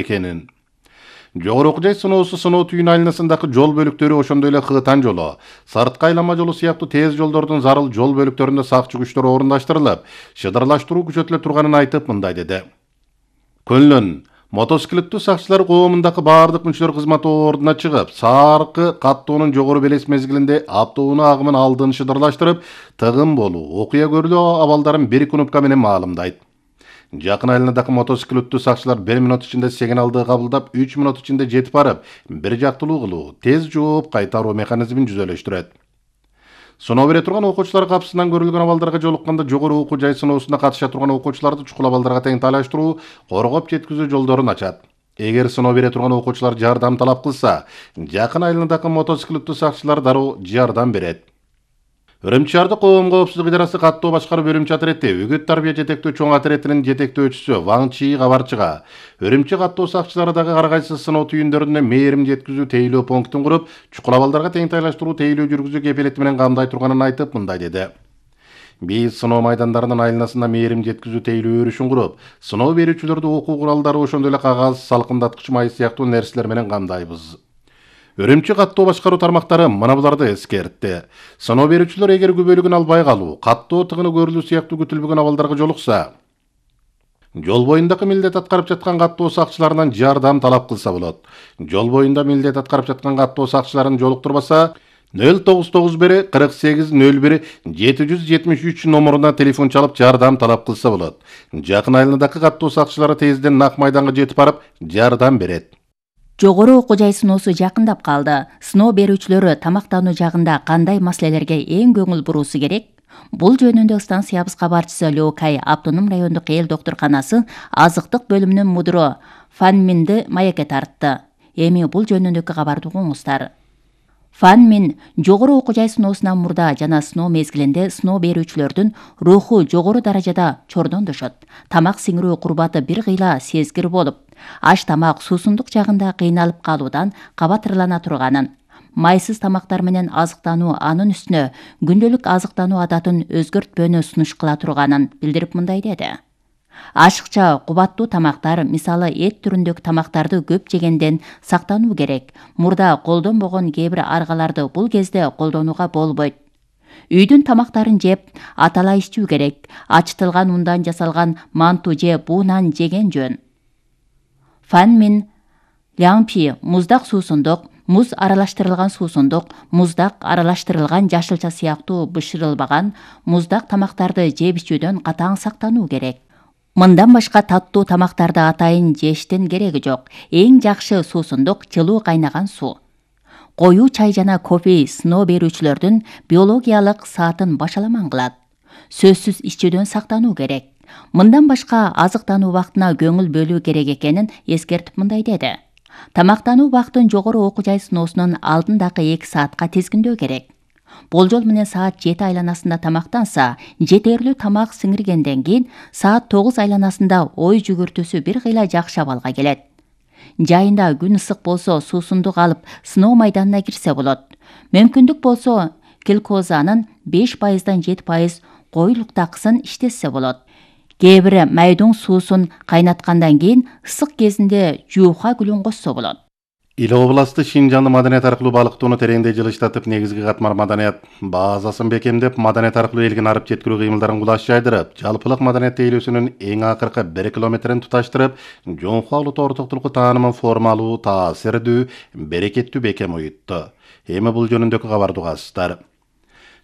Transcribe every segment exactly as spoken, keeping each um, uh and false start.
экенин. Жогору окуу жай сыноосу сыноо түйүн айланасындагы жол бөлүктөрү ошондой эле Кыгытан жолу, Сарытка айланма жолу сыяктуу тез жолдордун зарыл жол бөлүктөрүндө сакчы күчтөр орундаштырылып, шыдырлаштыруу күчөтүлө турганын айтып мындай деди. Көнлөн мотоциклеттүү сакчылар коомундагы баардык мүчөлөр кызмат ордуна чыгып, саркы каттоонун жогору белес мезгилинде автоунаа агымын алдын шыдырлаштырып, тыгын болуу, окуя көрүлүү абалдарын бир кнопка менен маалымдайт. Жакын айланадагы мотоциклеттүү сакчылар бир минут ичинде сигналды кабылдап, үч минут ичинде жетип барып, бир жактылуу кылуу, тез жооп кайтаруу механизмин жүзөлөштүрөт. Сыноо бере турган окуучулар капсынан көрүлгөн абалдарга жолукканда жогору окуу жай сыноосуна катыша турган окуучуларды чукул абалдарга тең тайлаштыруу, коргоп жеткизүү жолдорун ачат. Эгер сыноо бере турган окуучулар жардам талап кылса, жакын айланадагы мотоциклеттүү сакчылар дароо жардам берет. Үрүмчү шаардык коом коопсуздук идарасы каттоо башкаруу бөлүмчө отряди үгүт тарбия жетектөө чоң отрядынын жетектөөчүсү Ваң Чи кабарчыга Үрүмчү каттоо сакчылары дагы ар кайсы сыноо түйүндөрүнө мээрим жеткизүү тейлөө пунктун куруп, чукул абалдарга тең тайлаштыруу тейлөө жүргүзүү кепилети менен камдай турганын айтып мындай деди. Биз сыноо майдандарынын айланасында мээрим жеткизүү тейлөө өрүшүн куруп, сыноо берүүчүлөрдү окуу куралдары ошондой эле кагаз, салкындаткыч май сыяктуу нерселер менен камдайбыз. Үрүмчү каттоо башкаруу тармактары мына буларды эскертти. Сыноо берүүчүлөр эгер күбөлүгүн албай калуу, каттоо тыгыны көрүлүү сыяктуу күтүлбөгөн абалдарга жолукса, жол боюндагы милдет аткарып жаткан каттоо сакчыларынан жардам талап кылса болот. Жол боюнда милдет аткарып жаткан каттоо сакчыларын жолуктурбаса, нөл тогуз тогуз бир кырк сегиз нөл бир жети жүз жетимиш үч номуруна телефон чалып жардам талап кылса болот. Жакын айланадагы каттоо сакчылары тезден нак майданга жетип барып, жардам берет. Жогору окуу жай сыноосу жакындап калды. Сыноо берүүчүлөрү тамактануу жагында кандай маселелерге эң көңүл буруусу керек? Бул жөнүндө станциябыз кабарчысы Лёкай автоном райондук эл доктурканасы азыктык бөлүмүнүн мудуру Фан Минди маекке тартты. Эми бул жөнүндөгү кабарды угуңуздар. Фан Мин жогору окуу жай сыноосунан мурда жана сыноо мезгилинде сыноо берүүчүлөрдүн руху жогору даражада чордондошот. Тамак сиңирүү курбаты бир кыйла сезгир болуп, аш тамак суусундук жагында кыйналып калуудан кабатырлана турганын, майсыз тамактар менен азыктануу анын үстүнө күндөлүк азыктануу адатын өзгөртпөөнү сунуш кыла турганын билдирип мындай деди. Ашыкча кубаттуу тамактар, мисалы эт түрүндөгү тамактарды көп жегенден сактануу керек. Мурда колдонбогон кээ бир аргаларды бул кезде колдонууга болбойт. Үйдүн тамактарын жеп, атала ичүү керек. Ачытылган ундан жасалган манту же буунан жеген жөн. Фан Мин Лямпи муздак суусундук, муз аралаштырылган суусундук, муздак аралаштырылган жашылча сыяктуу бышырылбаган муздак тамактарды жеп ичүүдөн катаң сактануу керек. Мындан башка таттуу тамактарды атайын жештин кереги жок. Эң жакшы суусундук жылуу кайнаган суу. Коюу чай жана кофе сыноо берүүчүлөрдүн биологиялык саатын башаламан кылат. Сөзсүз ичүүдөн сактануу керек. Мындан башка азыктануу убактына көңүл бөлүү керек экенин эскертип мындай деди. Тамактануу убактын жогору окуу жай сыноосунун алдындагы эки саатка тизгиндөө керек. Болжол менен саат жети айланасында тамактанса, жетерлүү тамак сиңиргенден кийин саат тогуз айланасында ой жүгүртүүсү бир кыйла жакшы абалга келет. Жайында күн ысык болсо суусундук алып сыноо майданына кирсе болот. Мүмкүндүк болсо глюкозанын беш пайыздан жети пайыз коюлуктакысын иштетсе болот. Кээ бир майдың суусун кайнаткандан кийин ысык кезинде жууха гүлүн кошсо болот. Ил областы Шинжанды маданият аркылуу балыктоону тереңдей жылыштатып, негизги катмар маданият базасын бекемдеп, маданият аркылуу элге арып жеткирүү кыймылдарын кулаш жайдырып, жалпылык маданият тейлөөсүнүн эң акыркы бир километрин туташтырып, жоңку улуттуу ортоктулукку таанымын формалуу, таасирдүү, берекеттүү бекем уютту. Эми бул жөнүндөгү кабарды угасыздар.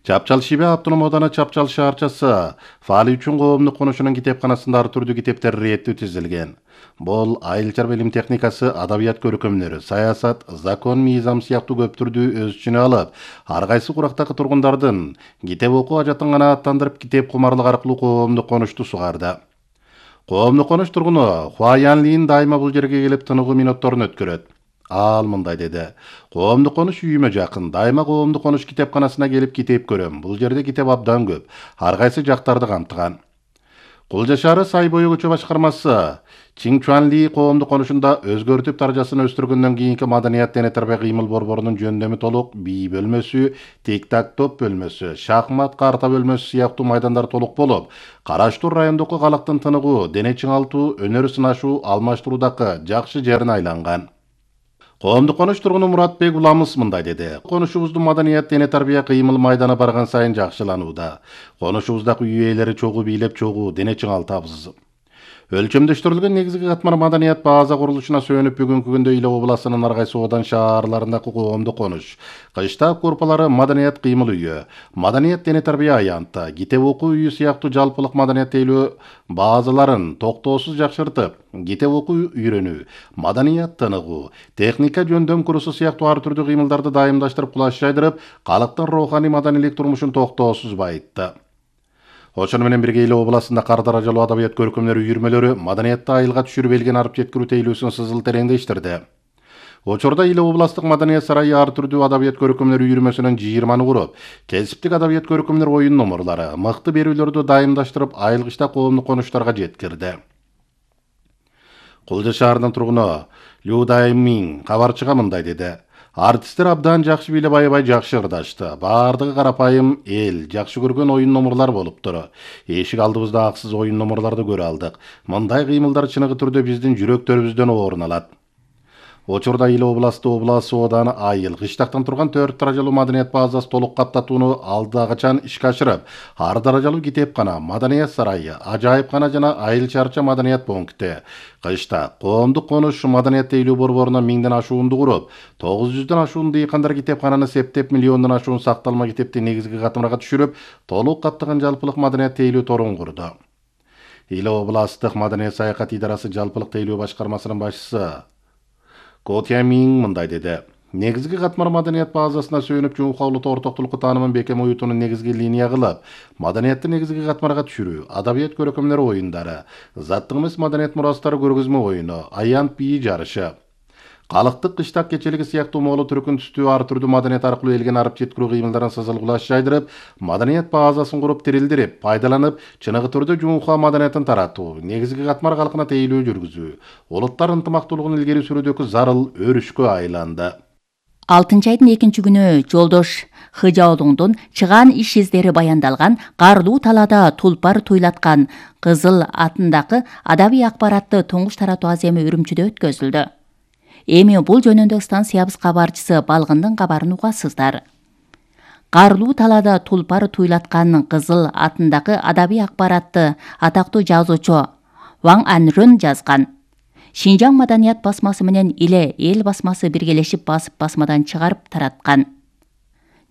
Чапчал Шибе автоном ооданы Чапчал шаарчасы фаали үчүн коомдук конушунун китепканасында ар түрдүү китептер реттүү тизилген. Бул айыл-чарба илим техникасы, адабият көркөмдөрү, саясат, закон, мыйзам сыяктуу көп түрдүү өз ичине алып, ар кайсы курактагы тургундардын китеп окуу ажатын канааттандырып, китеп кумарлык аркылуу коомдук конушту сугарды. Коомдук конуш тургуну Хуаянлин дайыма бул жерге келип тыныгуу минутторун өткөрөт. Ал мындай деди. Коомдук конуш үйүмө жакын. Дайыма коомдук конуш китепканасына келип китеп көрөм. Бул жерде китеп абдан көп. Ар кайсы жактарды камтыган. Кулжа шаары Сай бою көчө башкармасы Чиңчуанли коомдук конушунда өзгөртүп даражасын өстүргөндөн кийинки маданият дене тарбия кыймыл борборунун жөндөмү толук бий бөлмөсү, тик-так топ бөлмөсү, шахмат карта бөлмөсү сыяктуу майдандар толук болуп, Караштуу райондуку калактын тыныгуу, дене чыңалтуу, өнөр сынашуу, алмаштыруудагы жакшы жерине айланган. Коомдук конуш тургуну Муратбек Уламыс мындай деди. Конушубуздун маданият дене тарбия кыймыл майданы барган сайын жакшыланууда. Конушубуздагы үй ээлери чогуу бийлеп чогуу дене чыңалтабыз. Өлчөмдөштүрүлгөн негизги катмар маданият база курулушуна сөөнүп бүгүнкү күндө Иле областынын ар кайсы одан шаарларындагы коомдук конуш, кыштак группалары маданият кыймыл үйү, маданият дене тарбия аянты, китеп окуу үйү сыяктуу жалпылык маданият тейлөө базаларын токтоосуз жакшыртып, китеп окуу үйрөнүү, маданият тыныгуу, техника жөндөм курсу сыяктуу ар түрдүү кыймылдарды дайымдаштырып кулаш жайдырып, калктын руханий маданийлик турмушун токтоосуз байытты. Ошону менен бирге Иле областында кар даражалуу адабият көркөмдөр үйүрмөлөрү маданиятты айылга түшүрүп элген арып жеткирүү тейлөөсүн сызыл тереңдештирди. Учурда Иле областык маданият сарайы ар түрдүү адабият көркөмдөр үйүрмөсүнөн жыйырманы куруп, кесиптик адабият көркөмдөр оюн номурлары, мыкты берүүлөрдү дайымдаштырып, айылгычта коомдук конуштарга жеткирди. Кулжа шаарынын тургуну Лю Даймин кабарчыга мындай деди. Артисттер абдан жакшы бийлеп аябай жакшы ырдашты. Баардыгы карапайым эл, жакшы көргөн оюн номурлар болуптур. Эшик алдыбызда аксыз оюн номурларды көрө алдык. Мындай кыймылдар чыныгы түрдө биздин жүрөктөрүбүздөн орун алат. Учурда Иле областы облас ооданы айыл, кыштактан турган төрт даражалуу маданият базасы толук каптатууну алдагычан ишке ашырып, ар даражалуу китепкана, маданият сарайы, ажайыпкана жана айыл чарча маданият пункти, кышта коомдук конуш маданият тейлөө борборуна миңден ашуунду куруп, тогуз жүздөн ашуун дыйкандар китепкананы септеп, миллиондон ашуун сакталма китепти негизги катмарга түшүрүп, толук каптаган жалпылык маданият тейлөө торун курду. Иле областтык маданият саякат идарасы жалпылык тейлөө башкармасынын башчысы Котя Миң мындай деди. Негизги катмар маданият базасына сөөнүп жумукаулук ортоктулукку таанымын бекем уютууну негизги линия кылып, маданиятты негизги катмарга түшүрүү, адабият көркөмдөр оюндары, заттык эмес маданият мурастары көргөзмө оюну, аянт бии жарышы, калктык кыштак кечелиги сыяктуу моолу түркүн түстүү ар түрдүү маданият аркылуу элген арып жеткирүү кыймылдарын сызыл кулаш жайдырып, маданият базасын куруп тирилдирип, пайдаланып, чыныгы түрдө жумука маданиятын таратуу, негизги катмар калкына тейлөө жүргүзүү, улуттар ынтымактуулугун илгери сүрүүдөгү зарыл өрүшкө айланды. алтынчы айдын экинчи күнү Жолдош Хыжаолуңдун чыгаан иш издери баяндалган карлуу талаада тулпар туйлаткан кызыл атындагы адабий акбаратты туңгуш таратуу аземи Үрүмчүдө өткөзүлдү. Эми бул жөнүндө станциябыз кабарчысы Балгындын кабарын угасыздар. Карлуу талаада тулпар туйлаткан кызыл атындагы адабий акбаратты атактуу жазуучу Ваң Анрын жазган. Шинжаң маданият басмасы менен Иле эл басмасы биргелешип басып басмадан чыгарып тараткан.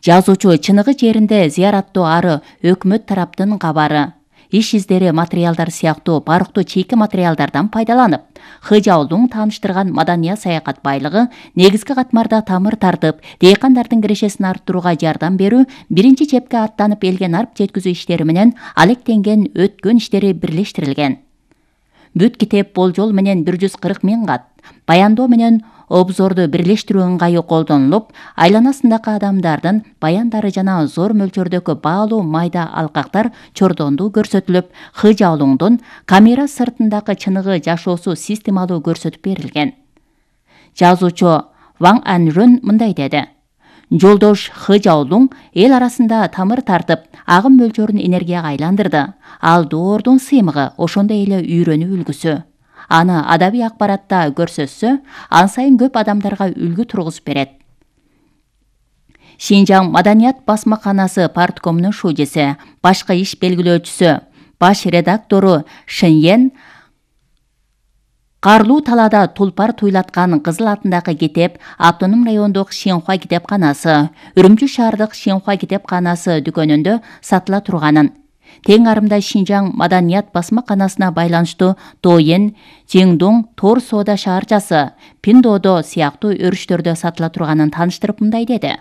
Жазуучу чыныгы жеринде зыяраттуу ары өкмөт тараптын кабары, иш издери материалдар сыяктуу барктуу чийки материалдардан пайдаланып, Хыжаолуң тааныштырган маданият саякат байлыгы негизги катмарда тамыр тартып, дыйкандардын кирешесин арттырууга жардам берүү, биринчи чепке аттанып элген арып жеткизүү иштери менен алектенген өткөн иштери бирлештирилген. Бүт китеп болжол менен бир жүз кырк миң кат, баяндоо менен обзорду бирлештирүү ыңгайы колдонулуп, айланасындагы адамдардын баяндары жана зор мөлчөрдөгү баалуу майда алкактар чордондуу көрсөтүлүп, Хыжаолуңдун камера сыртындагы чыныгы жашоосу системалуу көрсөтүп берилген. Жазуучу Ваң Анрын мындай деди. Жолдош Хыжаолуң эл арасында тамыр тартып, агым мөлчөрүн энергияга айландырды. Ал доордун сыймыгы, ошондой эле үйрөнүү үлгүсү. Аны адабий акбаратта көрсөтсө, ан сайын көп адамдарга үлгү тургузуп берет. Шинжаң маданият басмаканасы парткомунун шужеси, башкы иш белгилөөчүсү, баш редактору Шеньен карлуу талаада тулпар туйлаткан кызыл атындагы китеп автоном райондук Шинхуа китепканасы, Үрүмчү шаардык Шинхуа китепканасы дүкөнүндө сатыла турганын, тең арымда Шинжаң маданият басмаканасына байланыштуу Тоен, Чеңдуң, Тор соода шаарчасы, Пиндодо сыяктуу өрүштөрдө сатыла турганын тааныштырып мындай деди.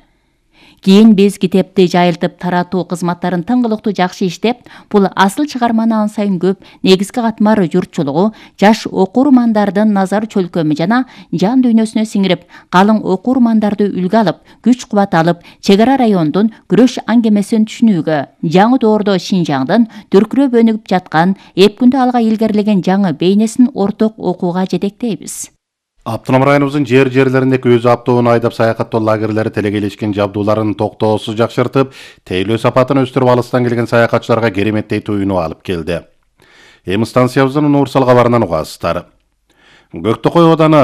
Кийин биз китепти жайылтып таратуу кызматтарын тыңгылыктуу жакшы иштеп, бул асыл чыгарманы ан сайын көп негизги катмар журтчулугу, жаш окурмандардын назар чөлкөмү жана жан дүйнөсүнө сиңирип, калың окурмандарды үлгү алып, күч кубат алып, чек ара райондун күрөш аңгемесин түшүнүүгө, жаңы доордо Шинжаңдын дүркүрөп өнүгүп жаткан, эпкүндө алга илгерилеген жаңы бейнесин орток окууга жетектейбиз. Автоном районубуздун жер жерлериндеги өз автоунаа айдап саякаттоо лагерлери телегелешкен жабдууларын токтоосуз жакшыртып, тейлөө сапатын өстүрүп, алыстан келген саякатчыларга кереметтей туюну алып келди. Эми станциябыздын универсал кабарынан угасыздар. Көктөкөй ооданы